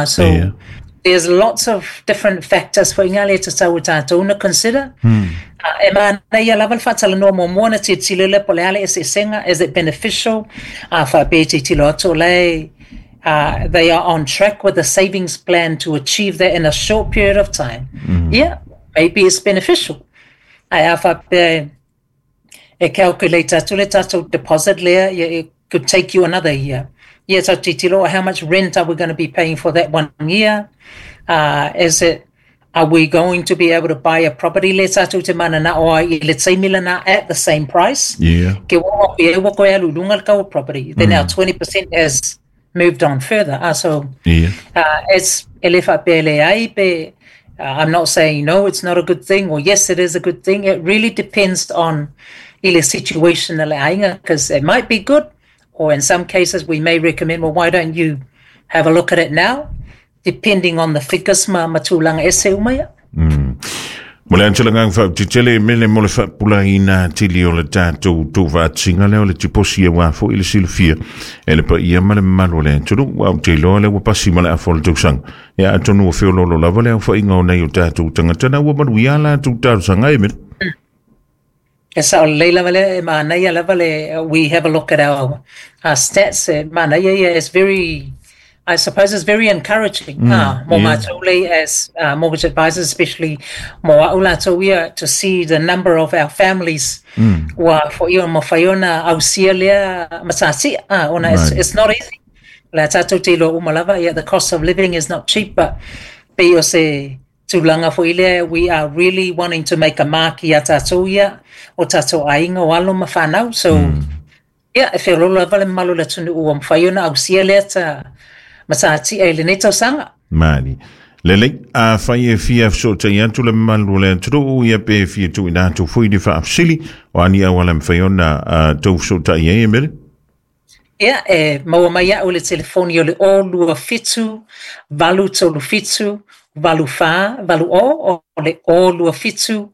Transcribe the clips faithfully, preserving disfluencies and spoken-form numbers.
So Yeah. there's lots of different factors for inga le tatau o tātou na consider. Mm. Uh, e manaia lava le faatalanoa muamua na tilotilo lea po o le a le eseesega, is it beneficial? A faapea e tilotilo atu o la e uh, they are on track with the savings plan to achieve that in a short period of time. Mm. Yeah, maybe it's beneficial. Ae a faapea e calculate atu le tatou deposit lea, yeah, it could take you another year. Yeah, so tilotilo, how much rent are we going to be paying for that one year? Uh, is it, are we going to be able to buy a property le tatou te mananao ai i le taimi lena at the same price? Yeah. Ke ua pe ua koe alu i luga le tau o property. Then our twenty percent has moved on further. Uh, so Yeah. uh, it's e le faapea leai pe, uh, I'm not saying no, it's not a good thing, or yes, it is a good thing. It really depends on i le situation a le aiga, because it might be good, or in some cases we may recommend, well, why don't you have a look at it now, depending on the figures ma ma tulaga ese uma ia. Mm. Mo le antalagaga faautetele mele mo le faapulaiina atili o le tatou tuufaatasiga lea o le tiposi auā foʻi le silafia e le paia ma le mamalu o le atunuu ua ou te iloa lea ua pasi ma le afa o le tausaga ia atonu ua feoloolo lava le aofaʻiga o nei o tatou tagata na ua manuia latou talosaga e mele. E sao lelei lava lea, e manaia lava le, we have a look at our, our stats, e manaia ia, it's very, I suppose it's very encouraging. Mm, ah, mo yeah. mātou lei as uh, mortgage advisors, especially mo a'u latou ia, to see the number of our families Mm. ua foʻi o mafai ona ausia lea matatia. Ah, ona it's, Right. it's not easy. La tātou te iloa uma lava, yeah, the cost of living is not cheap, but pei o se tulaga foʻi lea, we are really wanting to make a mark ia tātou ia, o tātou aiga o alo ma whanau. So, Mm. yeah, e feoloolo lava le mamalu o le atunuu ua mafai ona ausia lea ta matatia i lenei tausaga. Mani. Lelei, afai e fia fesoatai atu le mamalu o le atunuu ia pe fia tuuina atu foi le faafesili o a ni auala e mafai ona uh, tou fesoatai ai e mele. Ia, e maua mai a'u le telefoni o le o lua fitu, valu tolu fitu, valu fā, valu o, o le o lua fitu,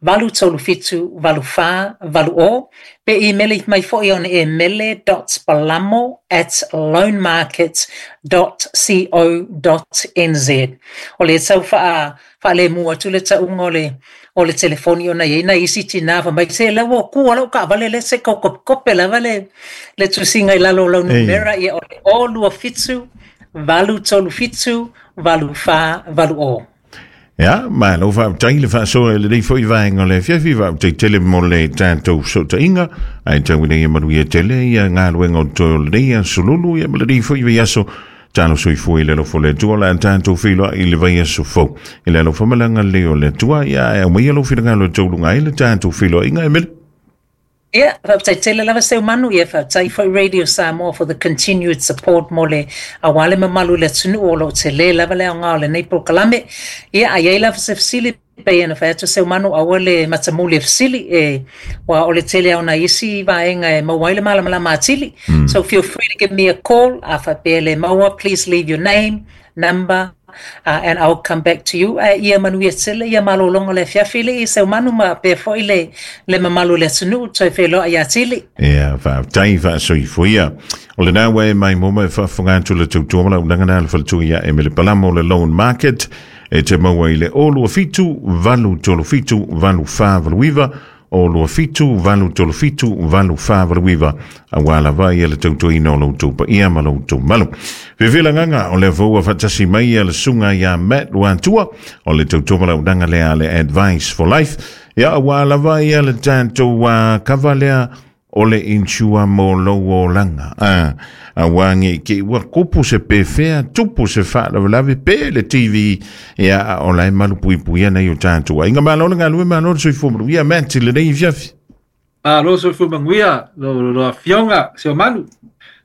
valu tolu fitu, valu fā, valu o. Pe imeli mai foʻi ona e mele dot palamo at loanmarket dot co dot nz. O le tau faa, faalemu atu le tauga o le o le telefoni ona iai nai isi tinā fai mai se lea ua kua lau kaavale lea se kokopekope lava le le tusiga i lalo o lau Ei. numera ia o le o lua fitu, valu tolu fitu, valu fā, valu o. Ia, malo faafetai le faasoa i lenei foʻi vaega o le afiafi faafetai tele mo le tatou fesootaiga ae tau ina ia manuia tele ia galuega o toe o lenei aso lulu ia ma lenei foʻi vaiaso talo soifua i le alofa o le Atua o le a tatou feiloai i le vaiaso fou i le alofa ma le agalelei o le Atua ia ae aumaia lou finagalo e tauluga ai le tatou feiloaiga e mele. Ia, faafetai tele lava Seumanu, ia faafetai foi Radio Samoa for the continued support mo le auā le mamalu i le atunuu o loo telē lava le aogā o lenei polokalame. Ia, a iai lava se fesili pei ona fai atu Seumanu aua le matamuli e fesili e ua o le tele ao nai isi vaega e maua ai le malamalama atili. Mm. So feel free to give me a call. A faapea le maua, please leave your name, number, uh, and I'll come back to you. Ae ia manuia tele ia malologa o le afiafi le i Seumanu ma pea foʻi le le mamalu o le atunuu toe feloai ia tili. Ia, faafetai faasoifua. O lenā ua e maimoa mai faafofoga atu le tautua ma lauunaga na le faletua ia Emele Palamo o le Loan Market e te maua i le o lua fitu, valu tolu fitu, valu fā valu iva, o lua fitu, valu tolu fitu, valu fā valu iva, auā lava ia le tautuaina o lo outou paia ma lo outou malu. Fefelagaga o lea foi ua faatasi mai ia le susuga iā Matt Luatua o le tautua ma lauunaga lea a le Advice for Life. Ia auā lava ia le tatou uh, kava lea o le insure mo lou olaga. Ah, auā nei te i ua tupu se pefea, tupu se faalavelave pe le T V, ia a o la e malupuipuia nei o tatou aiga. Malo le galue, malo le soifua manuia, Matt i lenei afiafi. Malo soifua manuia, lo, lo, lo afioga, Seumanu.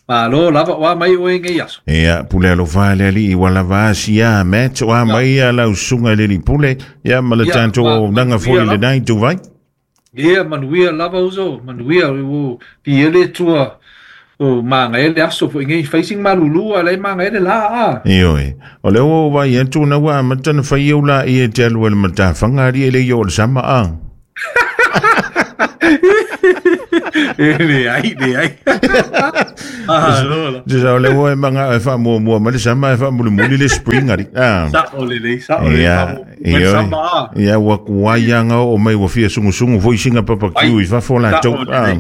Malo lava o a mai oe nei aso. Ia, pule alofa le alii ua lava asia, Matt, o a mai ia lau susuga i le alii pule, ia ma le Ia, tatou ma- auaunaga foi manuia i lenei ituvai. Ia, manuia lava uso, manuia, ua piia le Atua o magaia le aso foʻi nei fai sina malulu a la e magaia le lā a. Ioe, o lea ua ou vaai atu na ua amata ona fai au laia e te alu ai i le matafaga alii e le i oo i le sama a. E le ai, le ai. Ah, lola. Sa o le ua e manga e wha mua mua ma le sama e wha muli muli le spring ari. Ah. Sa o le le, sa o le Ia, ia, ia ua kuai anga o mai ua fia sungu sungu foi singa papa kiu i fafo la tau. Ah.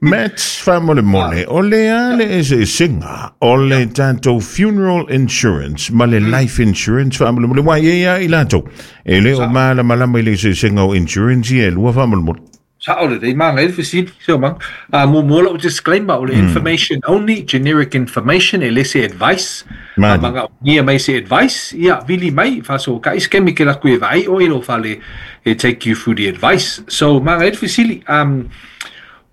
Matt, wha mole mole, o le a le ese singa, o le tātou funeral insurance, ma le life insurance, wha mole mole, wa ia ia i lātou. E le o ma la malama i le ese singa o insurance ia, lua wha mole mole. Sa o le dei manga e fesili so mang a mo mo lo disclaimer o le information only, generic information, e lese advice. Mani. Manga ia mai se advice ia vili mai fa so ka iskemi ke la ku e vai o ilo fale e take you through the advice. So manga e fesili um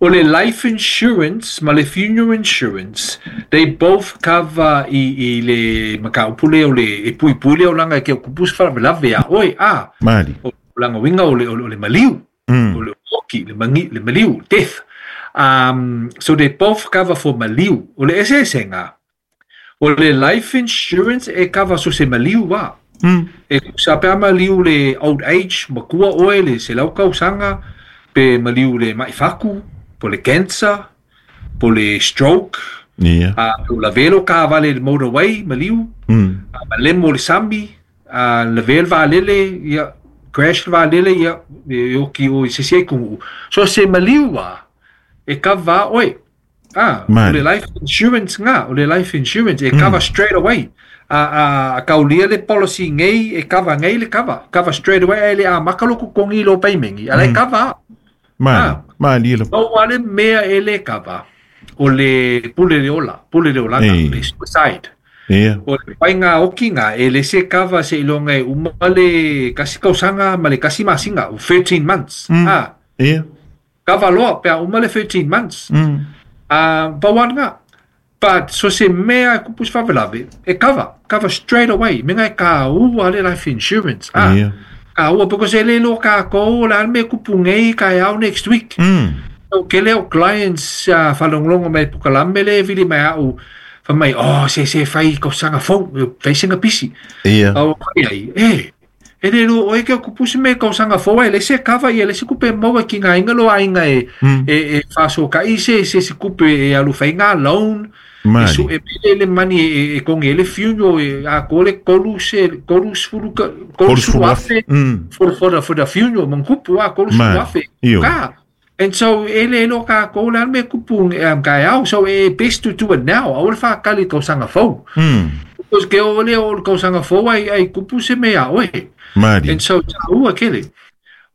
o le life insurance ma le funeral insurance, they both cover i i le makaupule o le e pui pule o langa ke kupus fa lave a oi a Mani. o langa winga o le o le maliu. Mm. O le oki, le mangi, le maliu, death. Um, so they both cover for maliu. O le eseesenga. O le life insurance e cover so se maliu wa. Mm. E sa pea maliu le old age, makua oe le se lau kausanga, pe maliu le maifaku, po le cancer, po le stroke, Ia. a o la velo ka vale le motorway, maliu, Mm. a malemo le sami, a le vel va lele, ia, crash va lele, ia, e oki o i se se kungu. So se maliu wa, e cover oe. Ah, o Mani. le life insurance nga, o le life insurance, e cover straight away. A, a, a kaulia le policy ngei, e cover ngei le cover. Cover straight away, e le a makaloko kongi lo paimengi. A le cover. Mani. Ah. Mani lo. No wale mea e le cover. O le pule le ola, pule le olanga, Ei. le suicide. Ia. O le painga okinga, e le se cover se ilonga e uma le kasi kausanga ma le kasi masinga, o thirteen months. Mm. Ah, Ia. cover loa, pea uma le thirteen months. Mm. Ah, uh, nga. But so se mea e kupus favelave, e cover, cover straight away. Menga e ka ua le life insurance. Ah, Ia. ka ua, because e le lo ka kou, la me kupu ngei ka au next week. Mm. So, ke leo clients uh, whalonglongo mai pukalame le vili mai au, wha mai, oh, se se whai kausanga fou, whai singa pisi. Ia. Au whai ai, e, e le lo oe ke kupusi me kausanga fou, e le se cover ia, le se kupe maua ki ngā inga lo ainga e, Mm. e, e whaso ka i se, se se kupe e alu whai ngā loan, e Mani. su e pele le mani e, e konge e le funeral, e a kole kolu se, kolu sfuru, kolu Kolu sfuru sfuru afe, Mm. for, for, the, for the funeral, mangkupu a kolu sfuru Mani. afe. Io. Ka. And so, e le lo ka ko le me kupu um, ka au, so e best to do it now. Au le whakali kausanga fou. Mm. Because ke o le o le kausanga fou ai, ai kupu se mea oe. Mani. And so, ta ua kele.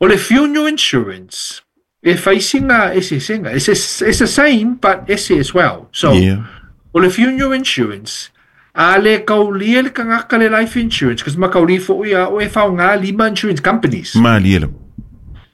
O le funeral insurance, e whaisinga e se singa. It's, it's the same, but ese as well. So, Ia. o le funeral insurance, a le kaulia le kangaka le life insurance, kasi makauli fo ia o e whao ngā lima insurance companies. Mani lo.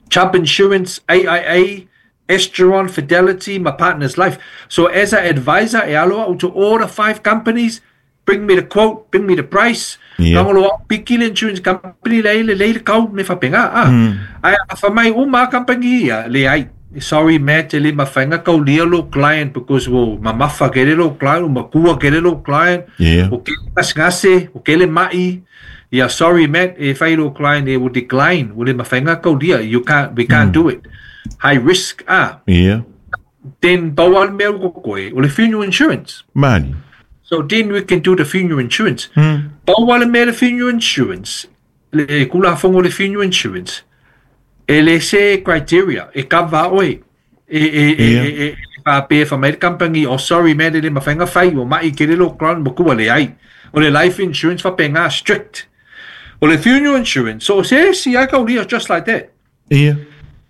Chubb Insurance, A I A, Esteron, Fidelity, my partner's life. So as an advisor, e aloa to all the five companies, bring me the quote, bring me the price. Yeah. Kangolo piki le insurance company le le le kau me whapenga. Ah. Mm. Ai a whamai uma company ia le ai. Sorry Matt, le mawhainga kau lia lo client because wo mamafa ke le lo client, o makua ke le lo client. Yeah. O ke ngasngase, o ke le mai. Yeah, sorry Matt, if I lo client they will decline. O le mawhainga kau lia, you can't, we can't mm. do it. High risk ah. Yeah. Then bawal mea ko koe, o le funeral insurance. Mani. So then we can do the funeral insurance. Mm. Bawal mea le funeral insurance, le kula fongo le funeral insurance, e le se criteria, e cover oe. E, e, e, Yeah. e, e, e, fa pe fa mai company, oh sorry man, le mawhainga whai, o mai ke le lo client, mo le ai. O le life insurance fa penga strict. O le funeral insurance, so se si ai kaulia just like that. Ia.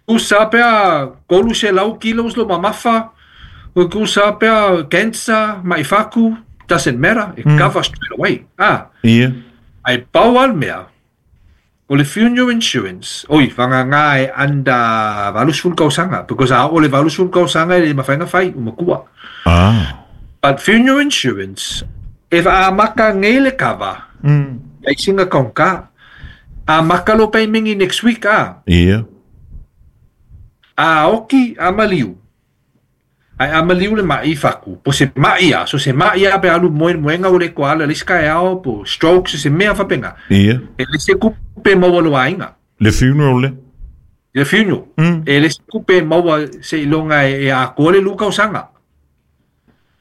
Ku sa pea kolu se lau kilos lo mamafa, o ku sa pea cancer, maifaku, doesn't matter, it mm. covers straight away. Ah, Ia. ai pau mea, o le funeral insurance, oi, whanga ngā e under valusful kausanga, because a o le valusful kausanga e le mawhainga whai, o makua. Ah. But funeral insurance, if a maka ngei le cover, Mm. ai singa kaunka, a maka lo pai mingi next week, ah, Ia. a oki a maliu. Ai a maliu le mai faku. Po se mai a, so se mai a pe alu moe moenga o le koala le sky ao po stroke se se mea fapenga. Ia. E le se kupe maua lo ainga. Le funeral le? Le funeral. Mm. E le se tupe e maua seiloga e atoa le lua tausaga.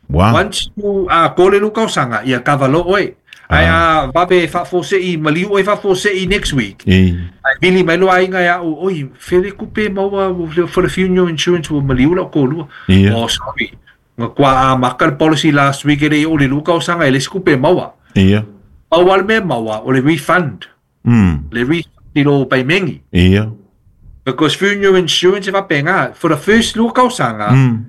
Wow. Once you atoa le lua tausaga, ia kava loa oe. Ae a vave faafose'i maliu oe faafose'i next week. E. Ae vili mai loa aiga ia au, oi, fea le tupe e maua for the funeral insurance ua maliu la'u toalua. Ia. Oh, sorry. Matua amata le policy last week e le'i oo i le lua tausaga e leai se tupe e maua. Ia. Pau lava le mea e maua o le refund. Mm. Le refund i lou paimegi. Ia. Because funeral insurance e faapena, for the first lua tausaga, Mm.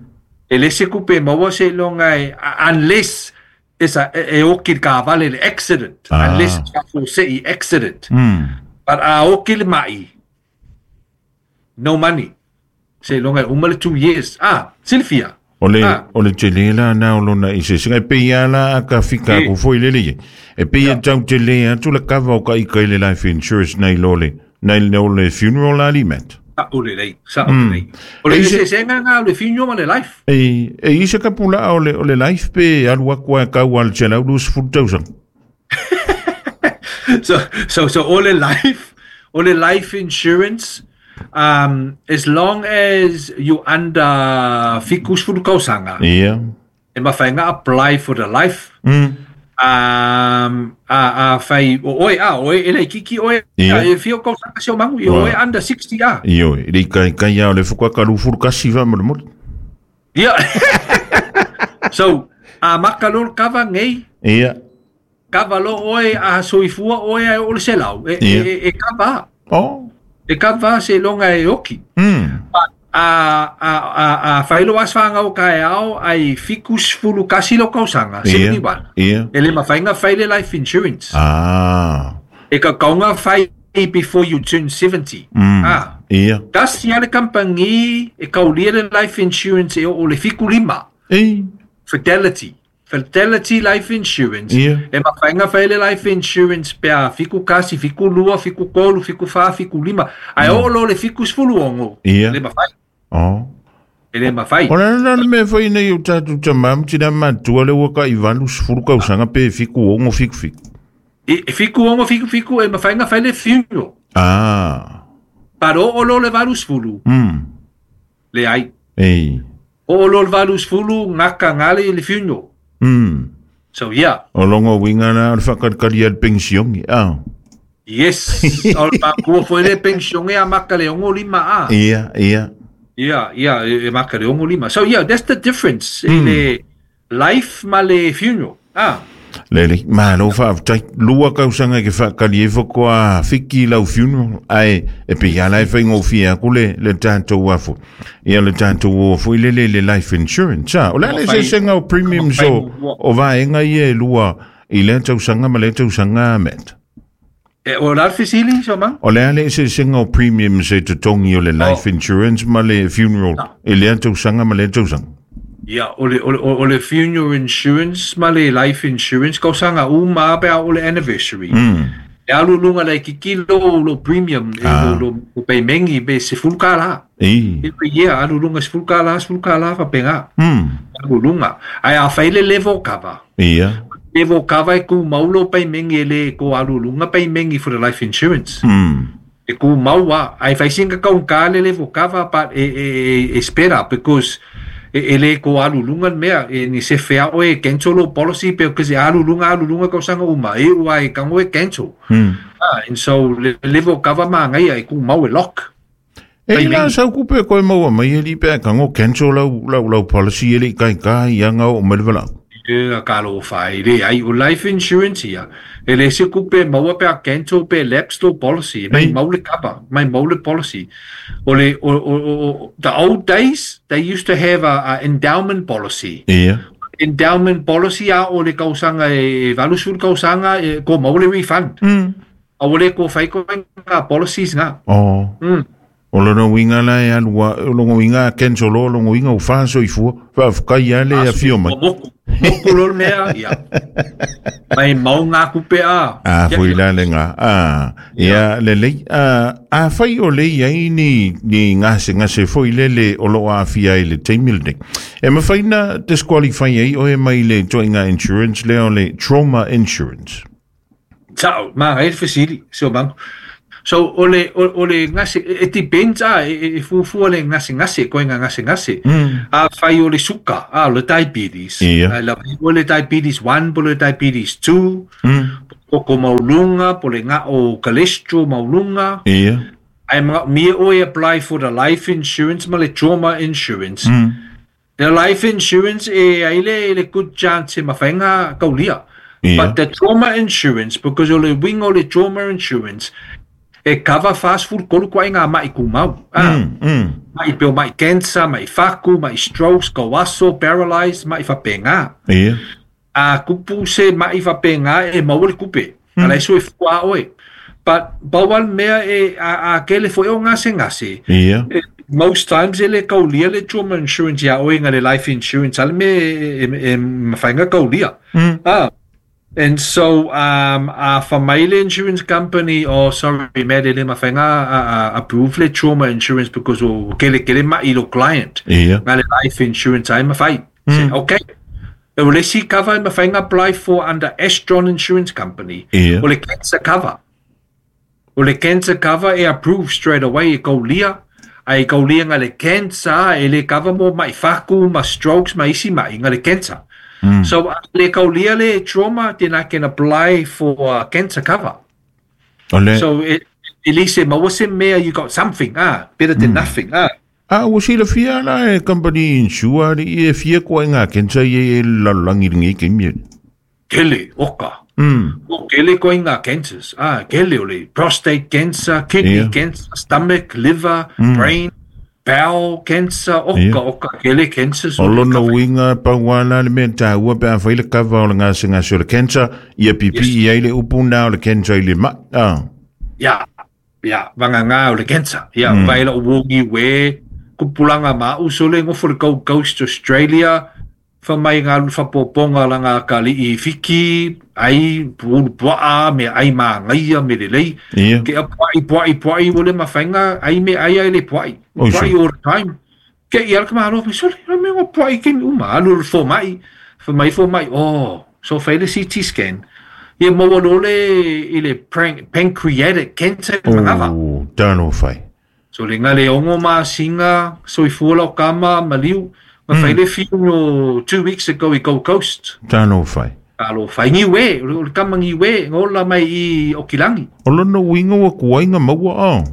e leai se tupe e maua seiloga e, unless it's a, e oki i le kavale le accident. Ah. Unless it's faafuase'i accident. Mm. But a oki le ma'i, no money. Seiloga e uma le two years. Ah, silafia. O le, Ah. o le tele la na o lona eseesega e pei a la a ka fika E. aku foi lele ia. E pei e tau tele atu le kava o ka ika i le life insurance nei lo le, nei lo le funeral a li met. Sa'o lelei, sa'o lelei. O le E ise- eseesega lena o le funeral ma le life. E, e isa ka pula o le, o le life pe alu aku a kau al te lau lua sefulu tausaga. So so so o le life, o le life insurance, um, as long as you under fitu sefulu tausaga, Ia. e mafai ona apply for the life. Mm. Um, a, a fai, o oe, a, oe, e laitiiti oe, Ia. a, e fia tausaga Seomagu, i Wow. oe under sixty a. Ioe, e le i kaikai a o le fuka ka lufulu kasi faamolemole. Ia. So, amata loa le kava nei, Ia. kava loa oe, a soifua oe ae oo i le selau, e, Ia. e, e, e kava. Oh. E kava seiloga e oki. Mm. A, a, a, a fai lou aso fanau taeao ai fitu sefulu tasi lou tausaga, Ia. seventy-one. Ia. E le mafai ona fai le life insurance. Ah. E tatau ona fai before you turn seventy. Mm. Ah. Ia. Tasi lava le kamupani e kaulia le life insurance e oo i le fitu lima. E. Fidelity. Fidelity Life Insurance. Ia. E mafai ona fai le life insurance pe a fitu tasi, fitu lua, fitu tolu, fitu fa, fitu lima. Ae oo loa i le fitu sefulu ono. Ia. Le mafai. Oh. E le mafai. O le ala le mea fai nei o tatou tamā ma tina matua le ua ka i valu sefulu tausaga pe fitu ono fitu fitu. E, e fitu ono fitu fitu e mafai ona fai le funeral. Ah. But oo loa i le valu sefulu. Mm. Leai. E. Oo loa i le valu sefulu gata gale le funeral. Mm. So yeah. O longa uiga la o le faakalikali a le pensione. Ah. Yes. O le makua foi le pensione amata i le ono lima a. Ia, ia. Yeah, yeah, e amata i le ono lima. So yeah, that's the difference i le life ma le funeral. Ah. Lelei, malo faafetai. Lua tausaga e ke faakali ai faatoa fiki lau funeral, ae e pei ala e faigofie aku le, le tatou afo. Ia le tatou o foi le le le life insurance. Ah, o le a le Mafai- eseesega o premiums mafai o, muamua. o vaega ia e lua i lea tausaga ma lea tausaga Matt. E, o la le fesili, Seomaga? O le a le eseesega o premiums e totogi o le life insurance ma le funeral i lea tausaga ma lea tausaga. Ia, o le, o le, o le funeral insurance ma le life insurance, tausaga uma pe a oo le anniversary. Mm. E alu i luga laitiiti lo, lo premium, e Ah. lo, lo, lo paimegi pe sefulu kālā. E. Every year, alu i luga sefulu kālā, sefulu kālā faapena. Mm. Alu i luga. Ae a fai le level cover. Ia. Level cover e tumau lou paimegi e le ko alu i luga paimegi for the life insurance. Mm. E tumau lava. Ae fai sina taugata le level cover, but e, e, e, e spera because e, e le ko alu i luga le mea, e ni se fea oe e cancel lou policy because e alu i luga, alu i luga tausaga uma, e ua e tago e cancel. Mm. Ah, and so le level cover magaia e tumau e lock. E Paimegi. la sau kupe koe maua mai e li pe kango cancel lau, lau, lau policy e le kai kai ia ngau o mele walau. E ka lo fai le ai o life insurance ia. E le se kupe maua pe a cancel pe lapse lou policy. Mai Ei. mau le cover, mai mau le policy. O le, o, o, o, o, the old days, they used to have a, a endowment policy. Ia. Endowment policy a oo i le tausaga e valu sefulu tausaga e ko mau le refund. Mm. A ua le ko fai ko ngā policies ngā. Oh. Mm. O lona uiga la e alua, o lona uiga a cancel o lona uiga o faasoifua, faafekai a le afio mai. O moku. Moku lo le mea, ia. Mai mau ngā kupe a. A Ia, foi la le ngā. A, ia le lei. A, a fai o le iai ni, ni ngase ngase foi le le o lo aafia i le taimi lenei. E mafai na disqualify ai oe mai le ituaiga insurance lea o le trauma insurance. Sa'o, magaia le fesili, Seomaga. So o le o le gase, it depends ah, e fuafua le gasegase, koe gasegase. Mm. Afai o le suka, ah, o le diabetes. Ia. O le diabetes one, po le diabetes two. Mm. Koko mauluga, po le ga'o cholesterol mauluga. Ia. Ae magaomia oe apply for the life insurance ma le trauma insurance. Mm. The life insurance e ai le le good chance e mafai ona kaulia. Ia. But the trauma insurance, because o le uiga o le trauma insurance, e cover fasefulutolu koaiga ma'i kumau. Ah, Mm. Mm. ma'i peo ma'i cancer, ma'i faku, ma'i strokes, kauaso, paralyzed, ma'i faapega. Ia. A kupu se ma'i faapega e maua le kupe. Mm. Ala e soifua oe. But pau le mea e a, a kele fo'i o gasegase. Ia. E, most times e le kaulia le trauma insurance ia oe nga le life insurance ale me e, e, e mafai ona kaulia. Mm. Ah. And so um a fai le insurance company, oh sorry me le le mafai ona a, a, approve le trauma insurance because o kele kele ma'i lo client. Ia. Nga le life insurance ai mafai. Mm. Okay. E o le isi cover e mafai ona apply for under Astron Insurance Company. Ia. O le cancer cover. O le cancer cover e approve straight away e kaulia. Ai kaulia nga le cancer e le cover mo mai faku, ma strokes, ma isi mai nga le cancer. Mm. So le kaulia le trauma, then I can apply for uh, cancer cover. O le So it, at least e maua se mea, you got something, ah, better than nothing, ah. A ua silafia la e company insure i e fia koaiga cancer ia e lalolagi i lenei taimi. Kele, oka. Mm. O kele koaiga cancers. Ah, kele o le prostate cancer, kidney Ia. cancer, stomach, liver, brain, bowel cancer, oka, Ia. oka, kele cancers. O lona uiga pau ala le mea taua pe afai le cover o le gasegase o le cancer, ia pipii ai le upu na o le cancer i le ma'i. Ah. Ya, ya, vagagā o le cancer. Ya, mm. vai la o wongi we, kupulanga ma usole ngofo le Gold Coast Australia, fa mai ngā lu whapoponga la ngā kali i fiki, ai pulu puaa, me ai maa ngaia, me le lei. Ia. Ke a puai, puai, puai, o le mawhainga, ai me ai ai le puai. Oi, Puai so. all the time. Ke i ala ka mahalo, me sole, me ngo puai ke mi uma, alu le fo mai, fa mai fo mai, oh, so fai le C T scan. Ia maua lo le, i le pran- pancreatic cancer mangava. O, talofa e. So le ngā le ongo masinga, soifua lau kama, maliu, ma fai le funeral two weeks ago i Gold Coast. Talofa e. Alo fai ngiwe, o le kama ngiwe, ngola mai i Okilangi. O lona uiga ua kuaiga maua a.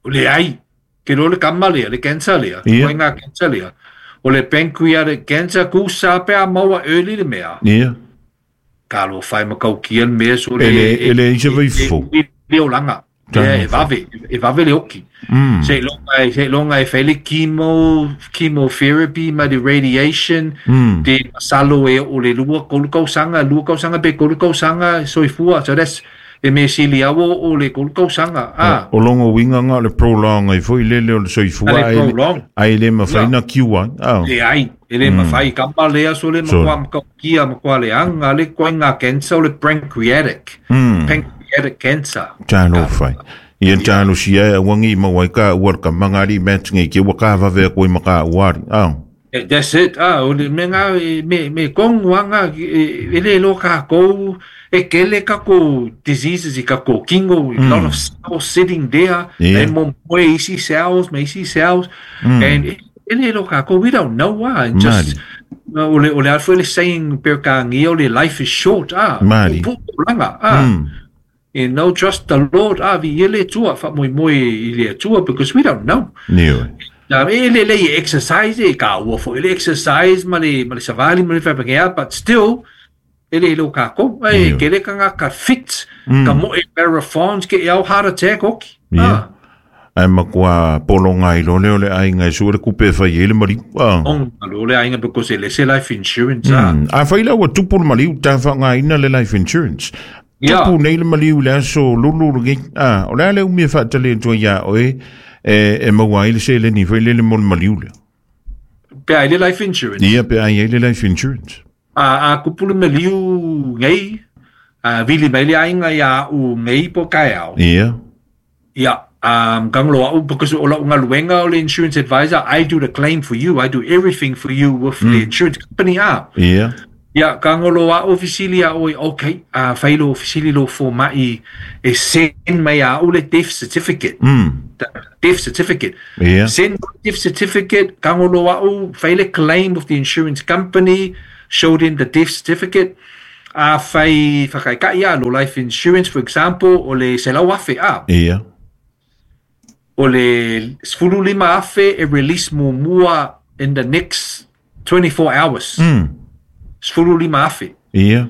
O le ai, ke lo le kama lea, le cancer lea, Ia. koe ngā cancer lea. O le pancreatic cancer, ku sa pe a maua early le mea. Ia. Ka lo fai makau kia le mea, so le E le- e le isa vaifo. E, e, le olanga. Talofa. E vave, e vave le oki. Mm. Se longa se longa e fai le chemo, chemotherapy ma le radiation, Mm. te masalo e o le lua kolu kausanga, lua kausanga pe kolu kausanga soifua. So that's e me sili awo o le kolu kausanga. Ah, O longo uiga nga le prolong ai foi lele o le soifua Ale ai le- prolong. ai le mafai na kiua. Ah. E ai, e le mawhai kama lea so le So- makua makaukia makua le anga le koe ngā cancer o le pancreatic. Mm. Pancreatic cancer. Talofa e. Ia talosia e auagi maua ai ka ua le kamaga alii matinge ke ua kavave koe ma ka uari. Ah. Eh, that's it. Ah, o le me ngā, e, me, me kong wanga, e, e le lo ka kou, e kele ka ko diseases i ka ko kingo, a lot of cells sitting there, Yeah. e mo moe isi cells, me isi cells, and e, e le lo ka kou, we don't know, ah, and just, uh, o le, o le alfo le saying per ka ngia, o le life is short, ah, Mari. o pu langa, ah, Mm. you know, trust the Lord, ah, vi ele tua, fa moi moi i le tua, because we don't know. Nio. Na e le le exercise e ka ua fo le exercise ma le ma le savali ma le whapangea, but still e le lo ka ko e Io. ke le ka ngā ka fit ka mo e marathons ke au heart attack oki. Ia. Ah, Ai makua polonga i lo leo le aiga e sua le kupe fai e le maliu. Ah. ong lo le ainga because e le se life insurance ah. Mm. A fai la ua tupu le maliu ta whangaina le life insurance. Ia. Tupu nei le maliu le aso lulu le ah, o le ale umia whaatale tua ia oe e, e maua ai le se le ni fai le le mo le maliu le. Pe ai le life insurance. Ia pe ai ai le life insurance. A a kupu le maliu ngei a vili mai le ainga ia u ngei po kai au. Ia. Yeah. Um, gang lo au because o lau ngaluenga o le insurance advisor, I do the claim for you. I do everything for you with the insurance company. Ah, Ia. Ia, kagolo a'u fesili a ʻoe, okay, a fai lo fesili lo fomaʻi e send mai a'u le death certificate. Mm. The death certificate. Ia. Send death certificate, kagolo a'u, fai le claim with the insurance company, show them the death certificate. A fai whakaika'i a lo life insurance, for example, o le selau afe a. Ia. O le sefulu lima afe e release muamua in the next twenty-four hours. Mm. Sefulu lima afe. Ia.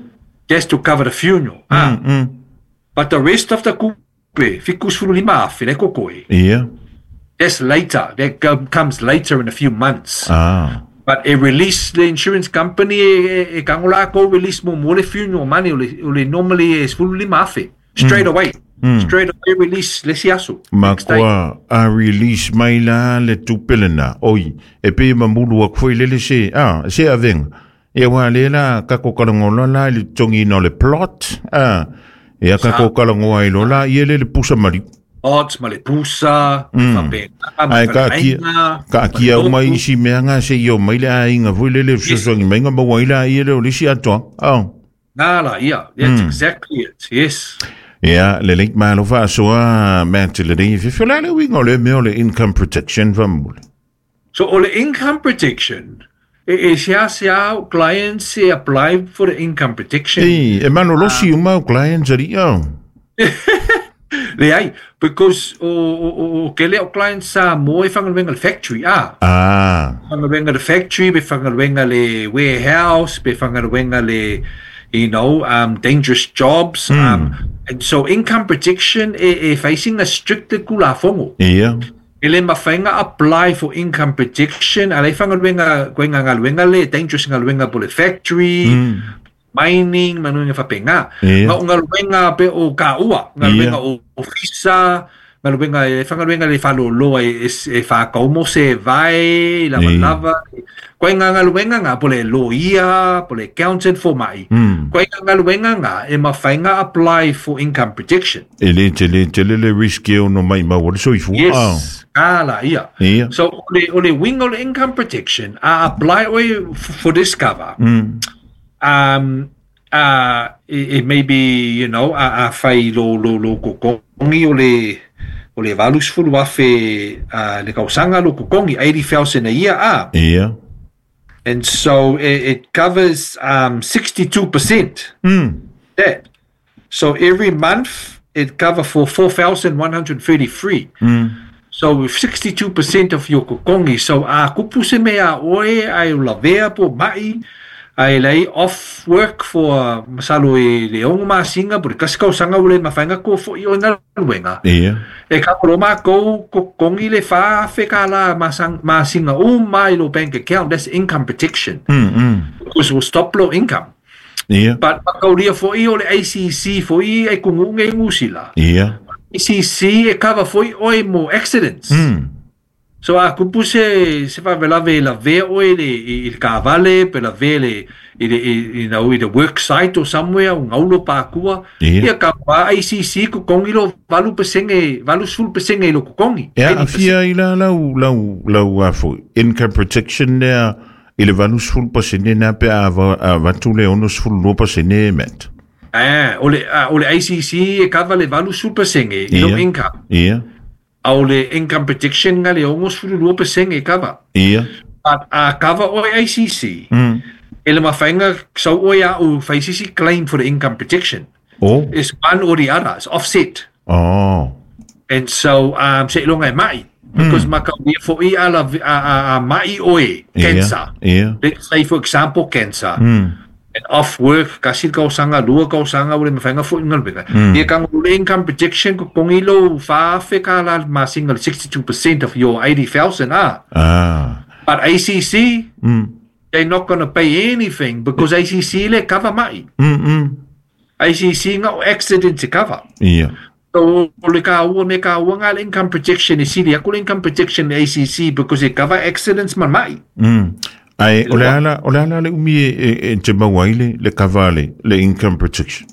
Just to cover the funeral. Ah. Mm, mm. But the rest of the kupe, fiku sefulu lima afe, le kokoe. Ia. That's later. That comes later in a few months. Ah. But e release the insurance company e, e kangola ko release mo mo le funeral money o le, o le normally e sefulu lima afe. Straight mm. away. Mm. Straight away release le siaso. Ma koa a release mai la le tupelena. Oi, e pe mamulu a foi le se. Ah, se avenga. E wa le la kako kalangola la le tongi no le plot. Ah, e a kako kalangoa i lola i ele le pusa mari. Odds ma le pusa, mm. Ai ka kia, ka kia o mai isi mea se i o mai le ainga foi le le fesoasoani mai nga maua i la i ele o lisi atoa. Oh. Nā la, ia, that's mm. exactly it, yes. Ia, le leik malo faasoa Matt le nei fifio la le uiga o le mea o le income protection famule. So o le income protection, e, e sea sea clients e apply for the income protection. E, e malolosi uh, uma o clients ari, oh. Le ai, because o o o kele o clients sa mo e whangaluenga le factory, ah. Ah. Whangaluenga le factory, be whangaluenga le warehouse, be whangaluenga le, you know, um, dangerous jobs. Mm. Um, and so income protection e, e facing a strict kulafongo. Yeah. E le mawhainga apply for income protection, a le whangaluenga, koenga ngaluenga le, dangerous ngaluenga po le factory, mm. mining, manuenga whapenga. Yeah. Ma o ngaluenga pe o kaua, ngaluenga yeah. o ofisa, ngaluenga e whangaluenga le whaloloa e, e whakaumo se vai, lava yeah. lava. Koe ngā ngaluenga ngā po le lawyer, po le accountant for mai. Mm. Koe ngā ngaluenga ngā e mawhainga apply for income protection. E le te le te le le risk e ono mai maua le soifua. Yes, oh. Ala, ia. Yeah. So o le, o le wing o le income protection, a apply oe for this cover. Mm. Um, uh, it, it may be, you know, a, a whai lo, lo, lo kokongi o le, o le valusfulu afe uh, le kausanga lo kokongi, eighty thousand a year. Ah. Yeah. And so it, it covers um, sixty-two percent. Mm. That. So every month it covers for four thousand one hundred thirty-three. Mm. So with sixty-two percent of your kokongi, so a kupu se mea oe, ai lavea po mai, ai lei off work for masalo e le ongo masinga, po le kasikau sanga ule mawhainga ko fo i o ngaluenga. Yeah. E ka koro mākou kokongi le whaafe ka la masinga o mai lo bank account, that's income protection. Mm, mm. Because we'll stop low income. Yeah. But makauria fo i o le A C C fo i e kungunge ngusila. Yeah. A C C e cover fo i oe mo accidents. Mm. So a kupu se se whavelave la ve oe le i le kavale pe la ve le i le you know i the work site or somewhere o ngaulo pākua. Yeah. Ia ka pa A C C kokongi lo valu pesenge valu sul pesenge lo kokongi. Ia a fia i la lau lau lau afo income protection nea i le valu sul pesenge na pe a vatu le ono sul lo pesenge met. Ah, o le o le A C C e kava le valu sul pesenge i lo income. Yeah. Au le income protection nga le ongo sulu lua pesenge e cover. Yeah. But a cover o A C C. Mm. E le mawhainga sau oe a u whaisisi claim for the income protection. Oh. It's one or the other. It's offset. Oh. And so, um, se ilonga e mai. Because mm. maka ua fo i ala a, a, a mai oe, cancer. Yeah. Yeah. Let's say, for example, cancer. Mm. And off work, kasi kausanga, lua kausanga, ule mawhainga fo ingalwega. Mm. Ia kango le income protection ko kongilo whaafe ka la masinga sixty-two percent of your eighty thousand. Ah. Ah. But A C C, mm. they're not going to pay anything because A C C le cover mai. Mm -mm. A C C ngā accident to cover. Yeah. So le ka ua me ka ua ngā income protection e sili aku le income protection A C C because it cover accidents man mai. Mm. Ai, o le ala, o le ala le umi e, e te maua i le, le cover le, le income protection.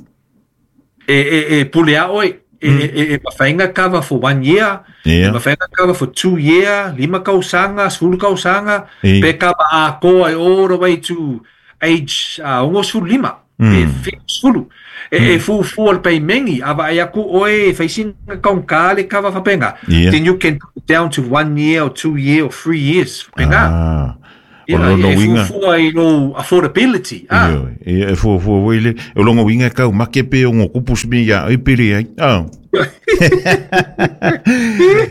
E, e, e pule a oe, e, mm. e, e mawhainga cover for one year, yeah. E mawhainga cover for two year, lima kausanga, sefulu kausanga, e. Pe cover a koa e all the way to age uh, ogo sefulu lima pe fitusefulu e e fuafua le paimegi a vaai aku oe e faisiga kaugā le kava faapega Ia. then you can put it down to one year or two year or three years faapega Ah. O ia lona e uiga fuafua i lou affordability ah Ioe, ia e fuafua foi le o lona uiga e kaumake pe ogo kupu se mea iā ai pe leai ah.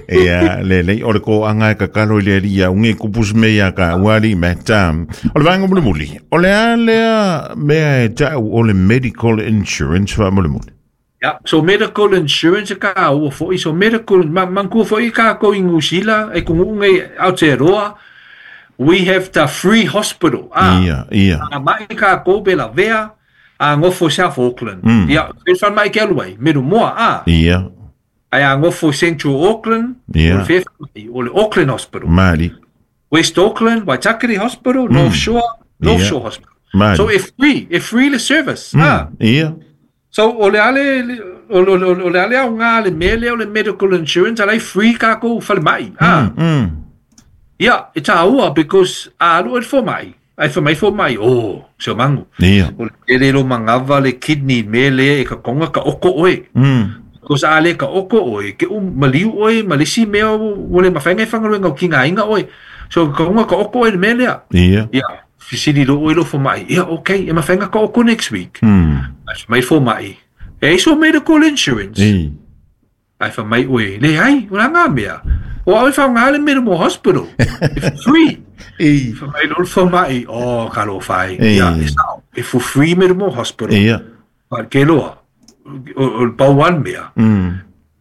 Ia lelei o le koaga e kakalo i le alii ia ugi e kupu se mea iā kāua alii Matt um, o le vaega mulimuli o le a lea mea e ta'u o le medical insurance faamolemole Yeah, so medical insurance e kāua foʻi so medical ma manatua foʻi kākou i Nusila e kuguʻu nei Aotearoa we have the free hospital ah Ia ia a maʻi kākou pe lavea a gofo i South Auckland Mm. ia e falemai ke alu ai Middlemore ah Ia ae a gofo i Central Auckland Ia. o le fea falemai o le Auckland Hospital Mali West Auckland Waitakere Hospital North Shore North Ia. Shore Hospital Mali so e free e free le service ah Ia So o le ale o le o le ale aoga le mea lea o le medical insurance ala e free kākou falemai ah Mm. ia e tāua because a alu oe i le fomai ai fai mai fomai oh se o magu Ia o le tele lo magava le kidney mea lea e kakoga ka oko oe Mm. because a le ka oko oe ke u maliu oe ma le isi mea ua le mafai ona e faigaluega o kigaina oe so kakoga ka oko oe le mea lea Ia ia fesili loa oe i lou fomai ia okay e mafai ona ka oko next week Mm. ai fai mai le fomai e ai sou medical insurance I ai fai mai oe leai o le a gā mea o au e faaaogā le Middlemore Hospital it's free I fai mai loa le fomai oh talofa e E. ia e sa'o e for free Middlemore Hospital Ia but ke loa o o le pau lava le mea Mm.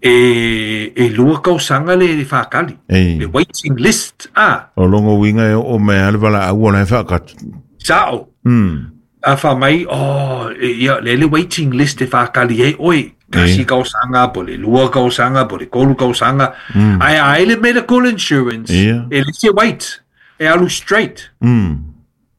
e e lua tausaga le le fakali E. le waiting list ah O lona uiga e oo mai a le valaau o la e faakatu sa'o Mm. a fai mai oh e, ia le le waiting list e fakali ai oe tasi E. tausaga po o le lua tausaga po o le tolu tausaga ae a ai le medical insurance Ia. e le se wait e alu straight Mm.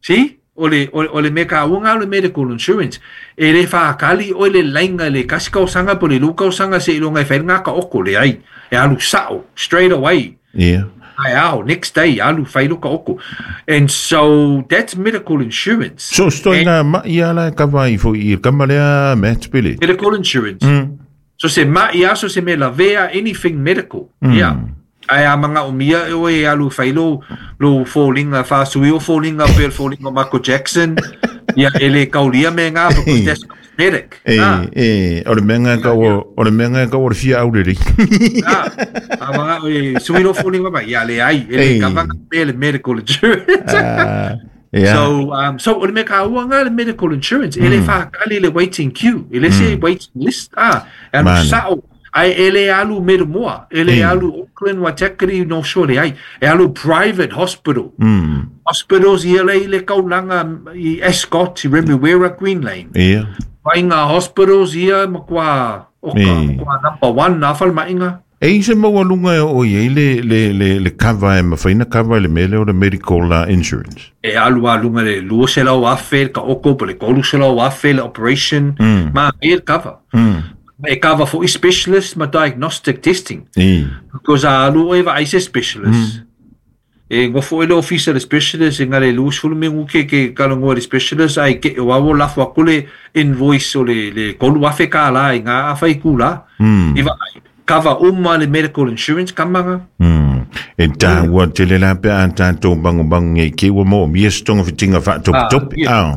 see o le o, o le mea kāuga o le medical insurance e le fakali oe le laina le kasi tausaga po o le lua tausaga seiloga e fai le gaka oko leai e alu sa'o straight away Ia ai ao next day alu fai lo ka oko and so that's medical insurance So stoi ngā mai ala e kava i fo i kama lea Matt Pele. medical insurance Mm. so se ma'i a so se mea lavea anything medical Mm. yeah ae a magaʻomia e oe e alu fai lou lou foliga faasui o foliga pe o le foliga o Michael Jackson ia e lē kaulia mea gā because that's cosmetic E, ah e, o le mea ngā kau o le mea ngā kau o le fia aurere. ah a maga'o e sui lou foliga mai ia leai e lē E. kava mea le medical insurance Ah, ia. So um so o le mea kāua ngā le medical insurance e le whakali le waiting queue e le se waiting list ah e alu Mane. sa'o ai e le alu Middlemore e le Mm. alu Auckland Waitakere North Shore leai e alu private hospital Mm. hospitals ia le i le kaulaga i Ascot i Remuera Green Lane Ia. mai ngā hospitals ia makuā o ka Mm. makuā number one nā falemaiga E i se maualuga e oo i ai le, le, le, le kava e mawhaina kava i le mea lea o le medical uh, insurance. e alu a luga le lua selau afe le kaoko po o le tolu selau afe le operation Mm. ma e le kava Mm. e kava foʻi specialist ma diagnostic testing I. because a alu oe vaai se specialist e gofo oe le ofisa le specialist e ga le lusefulu minuke ke kalagoa le specialist ae keʻe o ua lafo aku le invoice o le le tolu afe kālā i gā afa i kulā Mm. i vaai kava uma le medical insurance kamaga Mm. E tāua tele la pe a tātou bangubangu ngai ke ua mo mia se togafitiga faatopetope. Ah, Ah.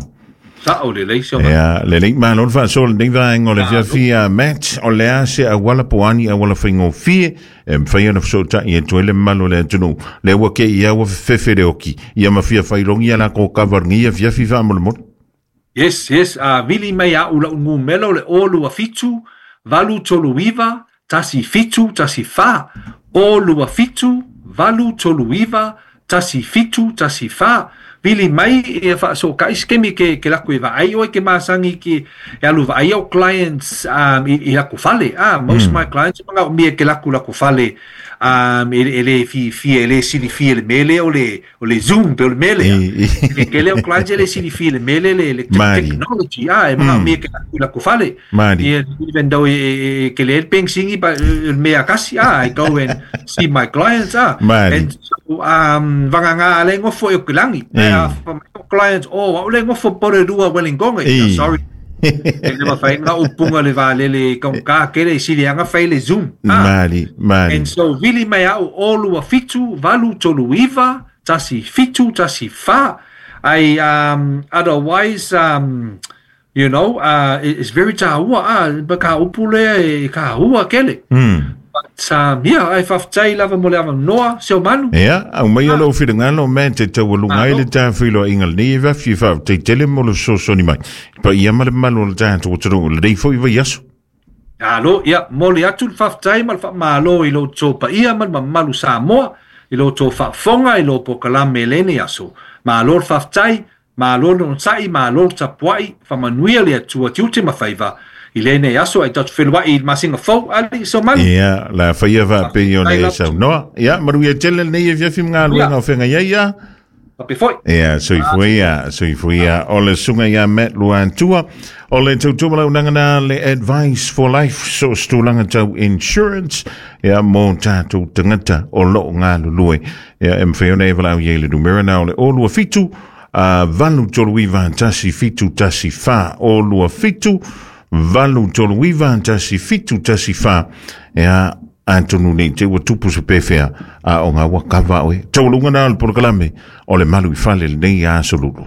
sa'o lelei se o Ia, lelei malo le faasoa lenei vaega o le fiafia Matt, o le a se auala po o a ni auala faigofie e mafai ona fesootaʻi atu ai le mamalu o le atunuu lea ua ke ia ua fefefe le oki ia ma fia failogi ia lakou kava lenei afiafi faamolemole Yes, yes, a vili mai a'u la'u numera o le o lua fitu, valu tolu iva, tasi fitu, tasi fā. O lua fitu, valu tolu iva, tasi fitu, tasi fā. Vili mai e faasokaʻi se kemi ke, ke laku e vaai oe ke masagi ke e alu vaai au clients um, i, i laku fale. Ah, most mm. my clients magaʻomia ke laku laku fale um, e, e le fiafia e le silifia le mea lea o le, o le Zoom pe o le mea lea. I, i. Le tele o clients e le silifia le mea lea le, le Mali. technology ah, e magaʻomia ke laku i laku fale. Mali. Ia, even though e, e, e, ke le pensingi pa le mea kasi ah, I go and see my clients ah. Mali. And so um vagagā le gofo e o ke lagi E. A clients, oh, au le ngofo Porirua Wellington. Sorry. E le mawhai ngā upunga le vālele kaunga kere i sili anga whai le Zoom. Mali, mali. And so, vili mai au o lua fitu, valu tolu iva, tasi fitu, tasi fa. I, um, otherwise, um, you know, uh, it's very tāua, ah, ka upu lea e ka hua kele. Mm. But, um, yeah, ai whawhtai lava mo le awa noa, seo manu. Ia, au mai o lau whirangalo, me te tau alunga ai le tā whiloa inga le nei e vafi wha te tele mo le sosoni mai. Pa ia ma le malu o le tātou taro, le rei fo i vai aso. Alo, ia, mo le atu le whawhtai ma le whamalo i lo tō pa ia ma le mamalu Samoa, i lo tō whaafonga i lo pokalame lene aso. Ma lo le whawhtai, ma lo le onsai, ma lo le tapuai, whamanuia le atua tiute mawhaiva. I lene aso ai tatu whenua i masinga fau ali so manu. Ia, la whaia wha pe i o le sau noa. Ia, maru ia tele nei e fiafi mga aluenga o whenga ia ia. Pape foi. Ia, soifuia, soifuia. O le sunga ia Matt Luantua. O le tautua lau nangana le Advice for Life, so stulanga tau insurance. Ia, mō tātou tangata o loo ngā lulue. Ia, e mwhiona e walau ia i le numera na o le o lua fitu, uh, valu tolu iwa tasi fitu tasi wha o lua fitu, valu tolu iwa tasi fitu tasi wha. Ia, antonu nei te ua tupu se pewhea a o ngā wakawa oe. Tau lunga nā o le porokalame o le malu i whale le nei a solulu.